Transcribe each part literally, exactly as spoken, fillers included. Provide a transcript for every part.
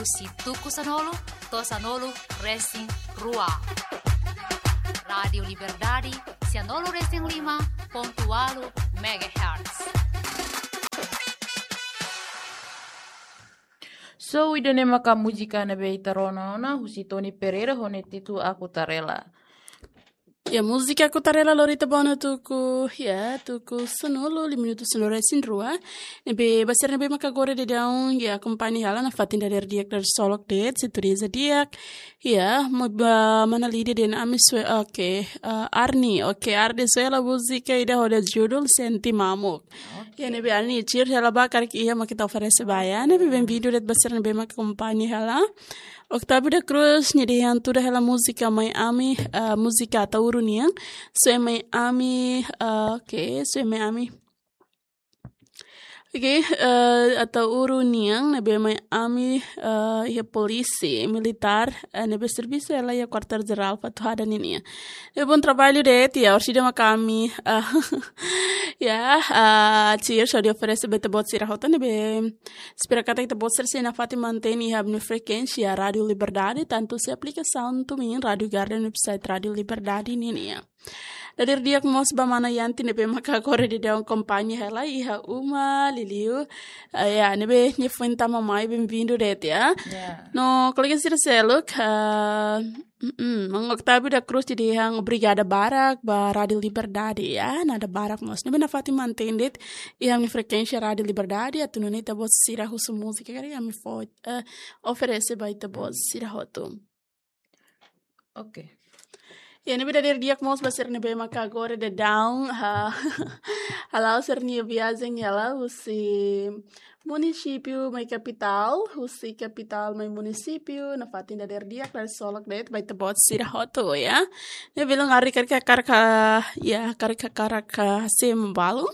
Husi tuku sanulu to'o sanulu resin rua. Rádiu Liberdade, sanulu resin lima pontu ualu megahertz. So, ida-ne'e maka múzika ne'ebé ita rona ona, husi Tony Pereira ho nia títulu Aku Tarela. Ya, múzika Aku Tarela lori ita ba ona tuku, ya, tuku sanulu, lima minutu sanulu resin rua. Ne'ebé ba sira ne'ebé maka agora daudaun, ya, akompaña hela nafatin dadeer di'ak, dadeer solok de'it, sintonia di'ak. Ya, mo ba mana Lídia dehan ami sue, oke, eh, Arni, oke, Arni sue hela múzika ida ho nia judul Sente Mamuk. Ya, ne'ebé Arni, cheers hela ba karik iha mak ita oferese ba, ya. Ne'ebé bem-vindo de'it ba sira ne'ebé maka akompaña hela. Octavio da Cruz, nia dehan tuda hela múzika mai ami, eh, múzika Ataúru nian. Sue mai ami, eh, oke, sue mai ami. Oke, eh, Ataúru nian, ne'ebé mai ami, eh, iha polísia militár, eh, ne'ebé servisu hela iha Kuartél Jerál Fatuhada ninian. Ne'ebé bom trabalho de'it, ya, orsida maka ami, eh, ya, eh, cheers, hodi oferese ba ita-boot sira hotu, ne'ebé espera katak ita-boot sira sei nafatin mantein iha ami-nia frekuénsia Rádiu Liberdade, tantu husi aplikasaun TuneIn, Rádiu Garden, website Rádiu Liberdade ninian. Dadeer di'ak mós ba mana Yanti ne'ebé maka agora daudaun akompaña hela iha uma, liuliu. Eh, ya, ne'ebé nia foin tama mai, bem-vindo de'it, ya. Ya. No, kolega sira seluk, eh, mm, mm, Mang Octavio da Cruz nia dehan obrigada barak ba Rádiu Liberdade, ya. Nada barak mós. Ne'ebé nafatin mantein de'it iha ami-nia frekuénsia Rádiu Liberdade, atu nune'e ita-boot sira husu múzika karik ami fó, eh, oferese ba ita-boot sira hotu. Oke. Ya, ne'ebé dadeer di'ak mós ba sira ne'ebé maka agora daudaun, ha, hala'o sira-nia viajen hela husi munisípiu mai kapitál, husi kapitál mai munisípiu, nafatin dadeer di'ak, dadeer solok de'it ba ita-boot sira hotu, ya. Ne'ebé belun Arni karik hakarak, ya, karik hakarak hase'e malu.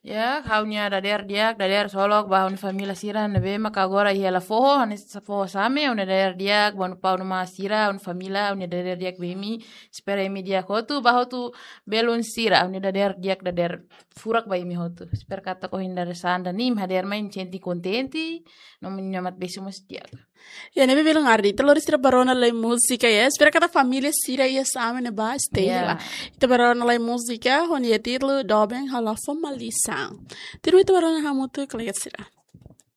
Ya, ha'u-nia dadeer di'ak, dadeer solok ba ha'u-nia família sira ne'ebé maka agora iha hela foho, hanesan foho same, ha'u-nia dadeer di'ak ba ha'u-nia pau no ma sira, ha'u-nia família, ha'u-nia dadeer di'ak ba imi, espera imi di'ak hotu, ba hotu belun sira, ha'u-nia dadeer di'ak, dadeer furak ba imi hotu. Espera katak ohin dadeer-saan duni imi hadeer mai sente kontente, no imi-nia mat-besi mós di'ak. Ya, ne'ebé belun Arni, ita lori sira ba rona lai múzika, ya. Espera katak família sira iha same ne'ebá stay, ya, hela. Ita ba rona lai múzika, ho nia títulu Doben Halo Fomalisan. Tuirmai ita ba rona hamutuk, kolega sira.